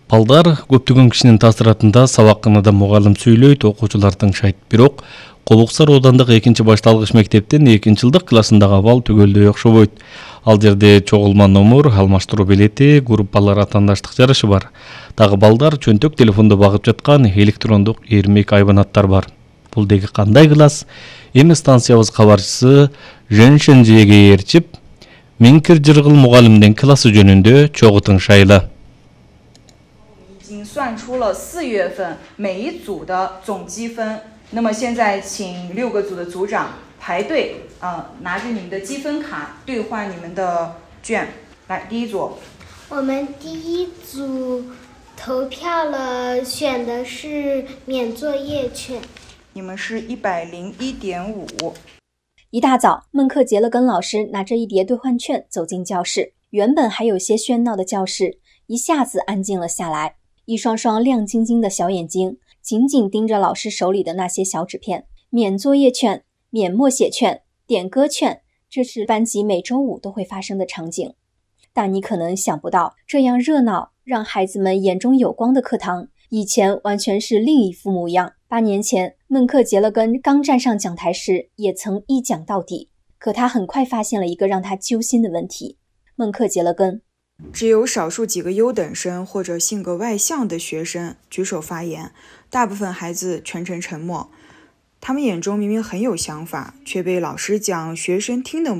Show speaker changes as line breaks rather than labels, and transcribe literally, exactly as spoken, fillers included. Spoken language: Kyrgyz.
Балдар көптөгөн кишинин таасиратында сабакканада мугалим сүйлөйт, окуучулар тыңшайт. Бирок Кобуксар оодандык экинчи башталгыч мектептин экинчи жылдык классындагы абал түгөлдөй окшобойт. Ал жерде чогулма номер, алмаштыруу билети, группалар атаандаштык жарышы бар. Дагы балдар чөнтөк телефондо багып жаткан электрондук эрмек айбанаттар бар. Бул деги кандай класс? Эми станциябыз кабарчысы Женшен Жеге ээрчип, Минкир Жыргыл мугалимдин классы жөнүндө чогуу тыңшайлы.
已经算出了四月份每一组的总积分。那么现在请六个组的组长排队，呃，拿着你们的积分卡兑换你们的卷。来，第一组。
我们第一组投票了，选的是免作业券。
你们是一百零一点五。
一大早，孟克杰勒根老师拿着一叠兑换券走进教室。原本还有些喧闹的教室，一下子安静了下来。一双双亮晶晶的小眼睛紧紧盯着老师手里的那些小纸片，免作业券、免默写券、点歌券，这是班级每周五都会发生的场景。但你可能想不到，这样热闹让孩子们眼中有光的课堂，以前完全是另一副模样。八年前，孟克杰勒根刚站上讲台时，也曾一讲到底。可他很快发现了一个让他揪心的问题。孟克杰勒根。
只有少数几个优等生或者性格外向的学生举手发言，大部分孩子全程沉默。他们眼中明明很有想法，却被老师讲学生听的